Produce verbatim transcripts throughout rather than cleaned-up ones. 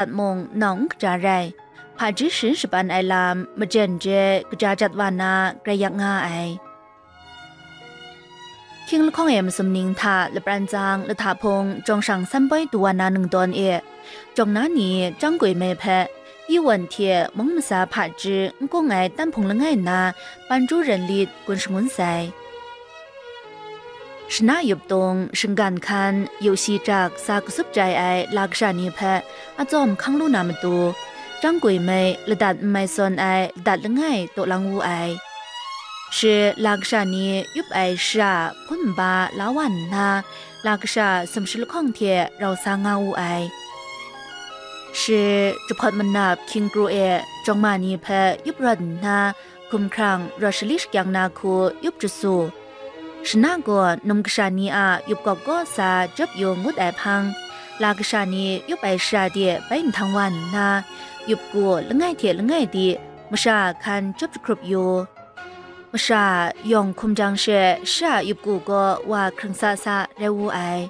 dat mung nau n kaja rai, hpaji sharin shapan ai lam majen je kaja jat wa na grai yak nga ai. Hkying lahkawng e masum ning hta lapran tsang lahta hpung jawng shang san poi du wa na ningdawn e, jawng na ni Chyang Gwi Mei hpe Iwan hte mung masa hpaji n kung ai tanhpung langai nna, Panju Renlit gun shangun sai. Shana yup tung, shinggan hkan, yu shi jak, sa kasup jai ai la kasha ni hpe atsawm hkang lu na matu, Chyang Gwi Mei ladat n mai sawn ai ladat langai taw lang wu ai. Shi la kasha ni yup ai shara hpun nba la wa nna, la kasha sumshi lahkawng hte rau sa nga wu ai. Shi jahpawt manap hkying kru e jawng ma ni hpe yup rawt nna, hkumhkrang rawt shali shakyang na hku yup jasu. Shana gaw num kasha ni a yup gawp kaw sa jawp yu ngut ai hpang, la kasha ni yup ai shara de bai nhtang wa nna, yup ku langai hte langai di masha hkan jawp jahkrup yu. Masha yawng hkum jang she shara yup ku gaw wa hkrang sa sa rai wu ai.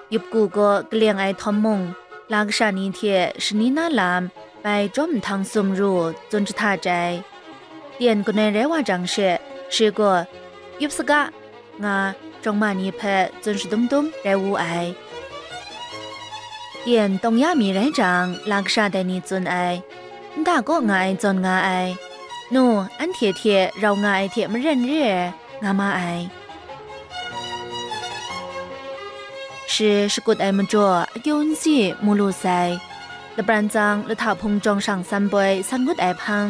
Yup ku gaw kaleng ai htawm mung, la kasha ni hte shani na lam bai jawm nhtang sumru tsun jahta jai. Tyen kanoi rai wa jang she, shi gaw, "Yup saga," nga jawng ma ni hpe tsun shadum dum rai wu ai. Tyen tawng ya mi rai jang, la kasha dai ni tsun ai, "Nta kaw nga ai zawn nga ai, nu, anhte hte rau nga ai hte maren re ai," nga ma ai. Shi shakut ai majaw akyu n si mu lu sai. Lapran tsang lahta hpung jawng shang san poi san ngut ai hpang,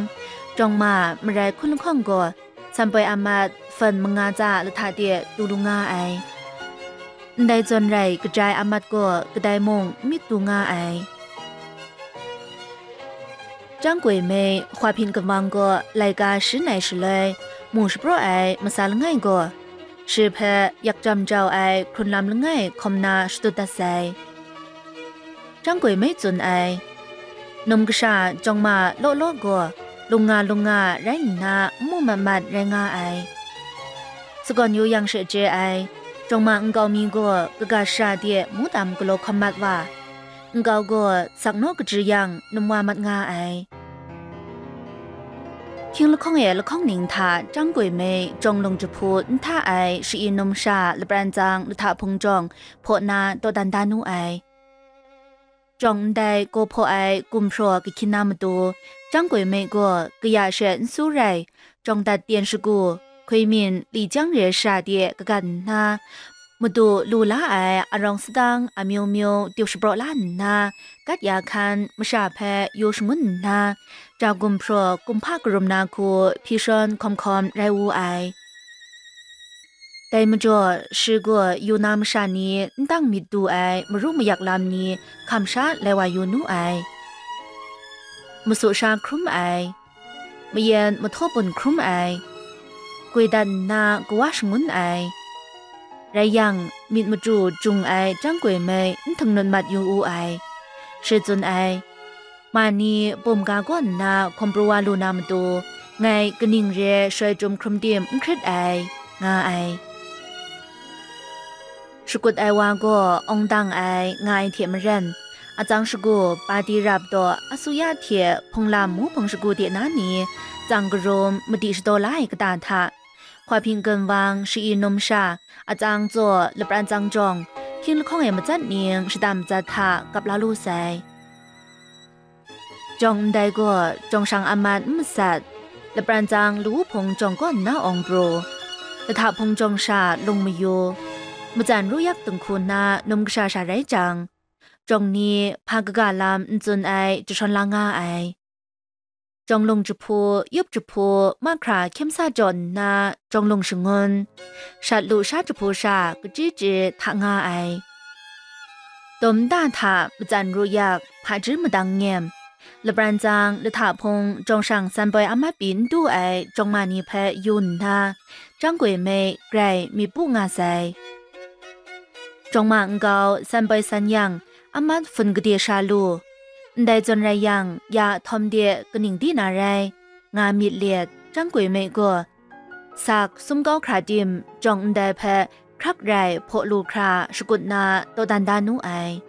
jawng ma marai hkun lahkawng gaw san poi amat fan manga tsa lahta de du lu nga ai. Ndai zawn rai kaja ai amat gaw kadai mung n myit du nga ai. Chyang Gwi Mei, Hkwa Hpyin Gun Wang gaw laika sharin ai shaloi, mu shapraw ai masa langai gaw, shi hpe yak jam jau ai hkrun lam langai hkawm na shadut dat sai. Chyang Gwi Mei tsun ai, num kasha jawng ma law law gaw, lung nga lung nga rai nna, n mu mat mat rai nga ai. Sagawn yu yang she chye ai, jawng ma nkau mi gaw kaga shara de mungdan galaw hkawm mat wa, nkau gaw sak naw kachyi yang num wa mat nga ai. Hkying lahkawng e lahkawng ning hta Chyang Gwi Mei jawng lung jahpu n hta ai sha-i num sha lapran tsang lahta hpung jawng hpaw na dawdan da nu ai. Jawng ndai gaw hpaw ai gumhpraw kahkyin na matu, Chyang Gwi Mei gaw kaya she n su rai, jawng dat tyen shagu, hkwi myin li jang re shara de kagan nna, madu lu la ai arawng sadang amyu myu tyup shapraw la nna, kat ya hkan masha hpe yu shangun nna, ja gumhpraw kumhpa karum na hku hpyi shawn hkawm hkawm rai wu ai. Dai majaw, shi gaw yu na masha ni n dang myit du ai maru mayak lam ni hkam sha lai wa yu nu ai. Masu sha hkrum ai, mayen mahtaw bun hkrum ai, gwi dat nna kawa shangun ai, rai yang, myit machyu jung ai Chyang Gwi Mei n htangnut mat yu u ai. Shi tsun ai, ma ni bum ga kaw nna hkawm pru wa lu na matu, ngai kaning re shuwai chyum hkrum tim n hkrit ai, nga ai. Shakut ai wa gaw awng dang ai, nga ai hte maren, atsang shagu, pati rap daw, asuya hte hpunglam mu hpung shagu de na ni, tsang karum, madi shadaw la ai kata hta, Hkwa Hpyin Gun Wang, sha-i num sha, atsang tsaw, lapran tsang jawng, hkying lahkawng e matsat ning shada matsat hta kap la lu sai. Jawng ndai gaw, jawng shang amat n masat, lapran tsang lawu hpung jawng kaw nna awng pru, lahta hpung jawng sha lung mayu, matsan ru yak dinghku na num kasha sha rai jang, jawng ni hpa kaga lam n tsun ai jashawn la nga ai. Jawng lung jahpu, yup jahpu, mahkra hkyem sa jaw nna jawng lung shangun, shat lu sha jahpu sha kachyi chyi hta nga ai. Dum nta hta matsan ru yak, hpaji madang nyem, lapran tsang lahta hpung jawng shang san poi amat pyi n du ai jawng ma ni hpe yu nna, Chyang Gwi Mei grai myit pu nga sai. Jawng ma nkau san poi san yang, amat hpun gade sha lu, ndai zawn rai yang, ya htawm de kaning di na rai, nga myit let, Chyang Gwi Mei gaw, sak sum kau hkra tim, jawng ndai hpe hkrak rai hpaw lu hkra shakut na dawdan da nu ai.